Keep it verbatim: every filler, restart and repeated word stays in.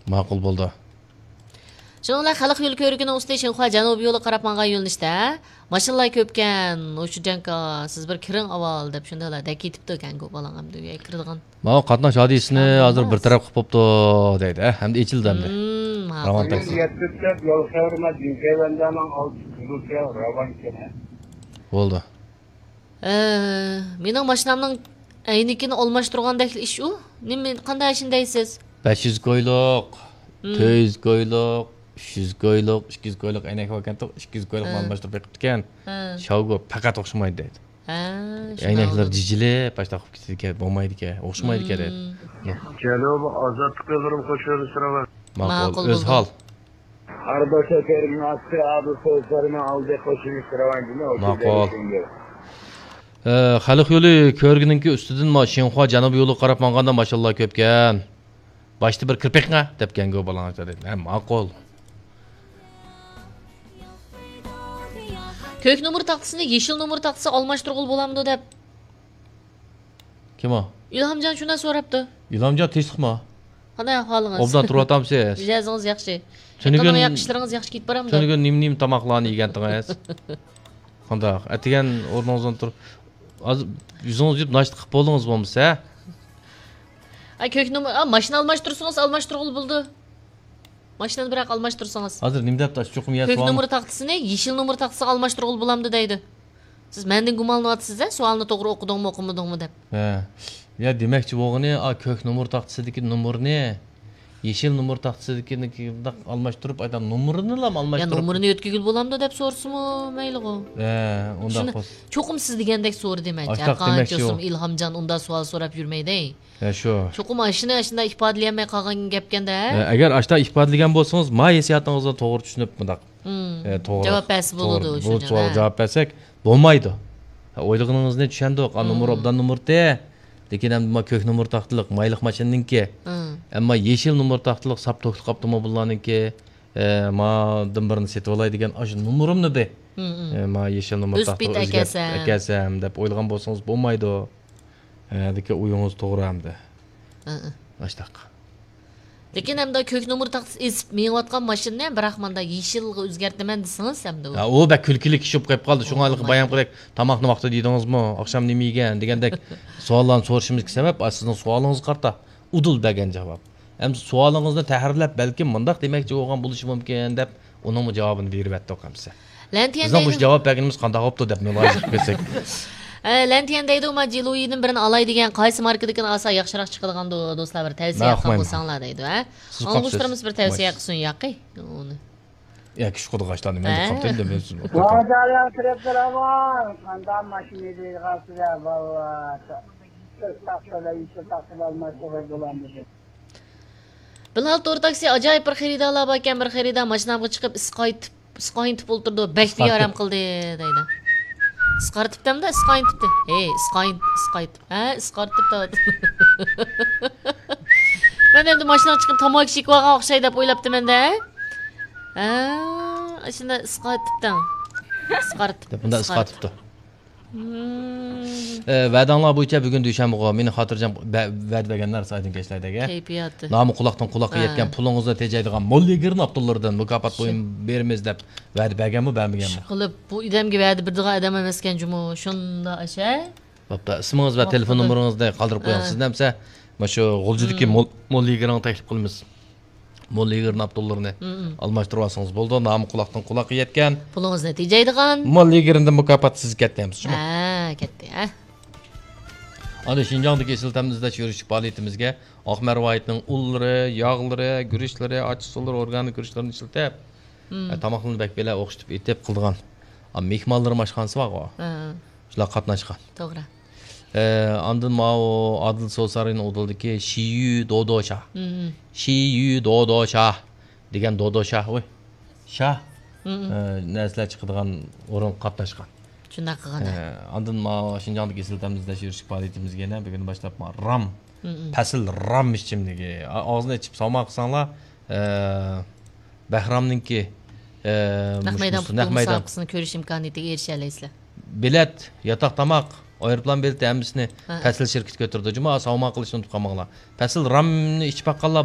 ماقۇل بولدى. شۇنىڭ بىلەن خەلق يولى كۆۋرۈكىنىڭ ئۈستى شىنخۇا جەنۇبىي يولىغا قاراپ ماڭغان يۆنىلىشتە ماشىنىلار كۆپكەن. ھوشۇجەنكا، سىز بىر كىرىڭ ئاۋۋال دەپ شۇنداقلا دەككە يېتىپتۇ ئەكەڭگۇ بالاڭ ئەمدى ئۆيگە كىرىدىغان. ماۋۇ قاتناش ھادىسىسىنى ھازىر بىر تەرەپ قىلىپ بوپتۇ دەيدۇ، ھە؟ ئەمدى ئېچىلدى ئەمدى. مم، ماقۇل. راۋان تاكسى. بولدى. ئە، مېنىڭ ماشىنامنىڭ ئەينىكىنى ئالماشتۇرغاندەك ئىش ئۇ. نېمە، قانداق ئىشنى دەيسىز؟ بەش يۈز كويلۇق، مم. تۆت يۈز كويلۇق، ئۈچ يۈز كويلۇق، ئىككى يۈز كويلۇق ئەينەك باركەنتۇق، ئىككى يۈز كويلۇقنى ھە. ئالماشتۇرۇپ بېقىپتىكەن. ھە. شاۋگو پەقەت ئوخشىمايدۇ دەيدۇ. ھە، شۇنداق ئەينەكلىرى بولىدۇ. جىجىلىپ، باشتا قىلىپ كېتىدىكەن، بولمايدىكەن، ئوخشىمايدىكەن دەيدۇ. مم. جەنۇبىي ئازادلىق يوللىرىمۇ خوش كۆرۈنۈشلىرى بار. ماقۇل، ماقۇل ئۆز بولدى. ھال. ھەر بىر شەھەرنىڭ ئاستى ئادىل سويسارنىڭ ئالدى قوشۇلۇش راۋانچىنى ماقۇل. ئە، خەلق يولى كۆۋرۈكىنىڭكى ئۈستىدىن ما-، شىنخۇا جەنۇبىي يولىغا قاراپ ماڭغاندا ماشىنىلار كۆپكەن. باشتا بىر كىرىپ بېقىڭە دەپكەنگۇ بالاڭ دېدى. ھە، ماقۇل. كۆك نومۇر تاختىسىنى يېشىل نومۇر تاختىسىغا ئالماشتۇرغىلى بولامدۇ دەپ. كىم ئۇ؟ ئىلھامجان شۇنداق سوراپتۇ. ئىلھامجان تىنچلىقمۇ؟ قانداق ئەھۋالىڭىز؟ ئوبدان تۇرۇۋاتامسىز؟ مىجەزىڭىز ياخشى. تۈنۈگۈن يېقىن ياق ئىشلىرىڭىز ياخشى كېتىپ بارامدۇ؟ تۈنۈگۈن نېمە، نېمە تاماقلارنى يېگەنتىڭىز؟ قانداق؟ ئەتىگەن ئورنىڭىزدىن تۇرۇپ، ھازىر يۈزىڭىزنى يۇيۇپ ناشتا قىلىپ بولدىڭىزمۇ بولمىسا؟ ئا، كۆك نومۇر، ئا، ماشىنا ئالماشتۇرسىڭىز ئالماشتۇرغىلى بولىدۇ. ماشىنىنى بىراق ئالماشتۇرسىڭىز. ھازىر نېمە دەپتۇ؟ ئاشۇ چوقۇم يە كۆك سوئال. نومۇر تاختىسىنى يېشىل نومۇر تاختىسىغا ئالماشتۇرغىلى بولامدۇ دەيدۇ. سىز مەندىن گۇمانلىنىۋاتىسىز-ە، سوئالنى توغرا ئوقۇدۇڭمۇ، ئوقۇمىدىڭمۇ دەپ. ھە. يا دېمەكچى بولغىنى، ئا، كۆك نومۇر تاختىسىدىكى نومۇرنى يېشىل نومۇر تاختىسىدىكىنى ئالماشتۇرۇپ، ئايتا نومۇرىنىلا يا ئالماشتۇرۇپ. نومۇرىنى يۆتكىگىلى بولامدۇ دەپ سورىسىمۇ مەيلىغۇ. ھە، ئۇنداق شۇنى بولسا. چوقۇم سىز دېگەندەك سورا دېمەكچى. ئاشتاق ھەققىغا دېمەكچى يوق. ئىلھامجان ئۇنداق سوئال سوراپ يۈرمەيدى. ھە، شۇ. چوقۇم ئاشۇنى ئاشۇنداق ئىپادىلىيەلمەي قالغان گەپكەندە. ھە، ئەگەر ئاشۇنداق ئىپادىلىگەن بولسىڭىز، ما ھېسسىياتىڭىزنى توغرا چۈشىنىپ، مۇنداق، مم. ئە، توغرا، جاۋاب بەرسە توغرا، بولىدۇ بۇ شۇ سوئالغا جاۋاب بەرسەك بولمايدۇ. ھە، ئويلىغىنىڭىزنى چۈشەندۇق. ئا، مم. نومۇر ئوبدان نومۇرتى. لېكىن ئەمدى ما كۆك نومۇر تاختىلىق مايلىق ماشىنىنىڭكى. مم. ئەمما يېشىل نومۇر تاختىلىق ساپ توكلۇق ئاپتوموبىللارنىڭكى، ئە، مادىن بىرنى سېتىۋالاي دېگەن ئاشۇ نومۇرۇمنى بى. مم، مم. ئە، ما يېشىل نومۇر تاختىلىق ئۆزگەرتىپ ئەكەلسەم دەپ ئويلىغان بولسىڭىز بولمايدۇ. ھە، دېكى ئويىڭىز توغرا ئەمدى. ھە، ھە. ئاشتاق. لېكىن ئەمدى كۆك نومۇر تاختىسى ئېسىپ مېڭىۋاتقان ماشىنىنى بىراق ماندا يېشىلغا ئۆزگەرتىمەن دېسىڭىز ئەمدى ئۇ. ھە، ئۇ بەك كۈلكىلىك ئىش بولۇپ قېلىپ قالدى. شۇڭا ھېلىقى بولمايدۇ. بايام قىلدەك تاماقنى ۋاقتىدا يېدىڭىزمۇ؟ ئاخشام نېمە يېگەن؟ دېگەندەك سوئاللارنى سورىشىمىزغا سەۋەب، ئا، سىزنىڭ سوئالىڭىزغا قارىتا ئۇدۇل بەرگەن جاۋاب. ئەمدى سوئالىڭىزنى تەھرىرلەپ، بەلكىم مۇنداق دېمەكچى بولغان بولۇشى مۇمكىن دەپ، ئۇنىڭمۇ جاۋابىنى بېرىۋەتتۇق ئەمىسە. لەنتىيەن بىزنىڭ مۇشۇ دەيدۇ. جاۋاب بەرگىنىمىز قانداق بوپتۇ دەپ مۇلاھىزە قىلىپ كەتسەك. ئە، لەنتىيەن دەيدۇ، ما جىلۇيىدىن بىرنى ئالاي دېگەن، قايسى ماركىدىكىنى ئالسا ياخشىراق چىقىدىغاندۇ، دوستلار، بىر تەۋسىيە قىلساڭلار دەيدۇ، ھە؟ سىز قاپسىز. ئاڭلىغۇچىلىرىمىز بىر تەۋسىيە قىلسۇن ياقى. ئۇنى. ياكى شۇ قۇدىغاچلارنى مەن ھە؟ قاپتىم دېمەيسىزمۇ؟ ۋاجالار كىرىپ تۇرامۇ؟ قانداق ماشىنا دەيدىغان سىلەر، بالىلار؟ ئىسقايتىپ. بىلال تور تاكسى، ئاجايىپ بىر خېرىدارلار باركەن، بىر خېرىدار ماشىنامغا چىقىپ، ئىسقايتىپ، ئىسقايتىپ ئولتۇرىدۇ، بەك ئىسقايتىپ. بىئارام قىلدى دەيدۇ. ئىسقارتىپ دەمدە، ئىسقايتىپتى. ھەي، ئىسقايتىپ، ئىسقايتىپ. ھە، ئىسقارتىپ دەۋاتىدۇ. مەن ئەمدى ماشىنىغا چىقىپ تاماكا چېكىۋالغان ئوخشاي دەپ ئويلاپتىمەن-دە. ھە، ئاشۇنداق ئىسقارتىپتىڭ. ئىسقارتىپ، دەپ بۇنداق ئىسقارتىپ. ئىسقارتىپتۇ. مم. ئە، ۋەدەڭلار بويىچە بۈگۈن دۈشەنبىغۇ، مېنى خاتىرجەم بە-، ۋەدە بەرگەنلەر سايدىن كەچلەردەگە. كەيپىياتى. نامى قۇلاقتىن قۇلاققا ھە. يەتكەن پۇلىڭىزنى تېجەيدىغان مول يىگىرنى ئاپتونلىرىدىن مۇكاپات شۇ. بۇيۇم بېرىمىز دەپ ۋەدە بەرگەنمۇ، بەرمىگەنمۇ؟ ئىشقىلىپ، بۇ ئادەمگە ۋەدە بېرىدىغان ئادەم ئەمەسكەن جۇمۇ، شۇنداق ئەشە. بوپتۇ، ئىسمىڭىز ۋە تېلېفون نومۇرىڭىزنى قالدۇرۇپ قويۇڭ. ھە. سىزنى ئەمسە مۇشۇ غۇلجىدىكى مم. مول، مول يىگىرنى تەكلىپ قىلىمىز. مول يىگىرنى ئاپتونلىرىنى مم. ئالماشتۇرۇۋالسىڭىز بولىدۇ. نامى قۇلاقتىن قۇلاققا يەتكەن. پۇلىڭىزنى تېجەيدىغان. مول يىگىرنىدىن مۇكاپات سىزگە كەتتى ئەمسە شۇمۇ؟ ھە، كەتتى، ھە. ئاندىن شىنجاڭدىكى ئېسىل تەمنى ئىزدەش يۈرۈشلۈك پائالىيىتىمىزگە ئاق مەرۋايىتنىڭ ئۇنلىرى، ياغلىرى، گۈرۈچلىرى، ئاچچىقسۇلىرى، ئورگانىك گۈرۈچلىرىنى ئىشلىتىپ، مم. ئە، تاماقلىرىنى بەك بەلە ئوخشىتىپ ئېتىپ قىلىدىغان، ئا، مېھمانلىرىم ئاشخانىسى بارغۇ. ھە. شۇلار قاتناشقان. توغرا. ئە، ئاندىن ماۋۇ ئادىل سوسارىنىڭ ئۇدۇلدىكى شىيۈ دودوشا. مم. شىيۈ دودوشا دېگەن دودوشا، ۋۇي. شا. مم. ئە، نەرسىلەر چىقىدىغان ئورۇنغا قاتناشقان. شۇنداق قىلغان. ئە، ئاندىن ماۋۇ شىنجاڭدىكى ئېسىل تەمنى ئىزدەش يۈرۈشلۈك پائالىيىتىمىزگە يەنە بۈگۈن باشلاپ ما-، رام. مم. پەسىل رام ئىچىملىكى. ئا-، ئاغزىنى ئېچىپ ساۋماق قىلساڭلار، ئە، بەھرامنىڭكى، ئە، نەق مۇشۇ، مەيدان مۇشۇ، پۇتبول نەق مەيدان. مۇسابىقىسىنىڭ كۆرۈش ئىمكانىيىتىگە ئېرىشەلەيسىلەر. بىلەت، ياتاق تاماق، ئايروپىلان بېلىتى ھەممىسىنى ھە. پەسىل شىركىتى كۆتۈرىدۇ. جۇما ساۋماق قىلىشنى ئۇنتۇپ قالماڭلار. پەسىل رامنى ئىچىپ باققانلار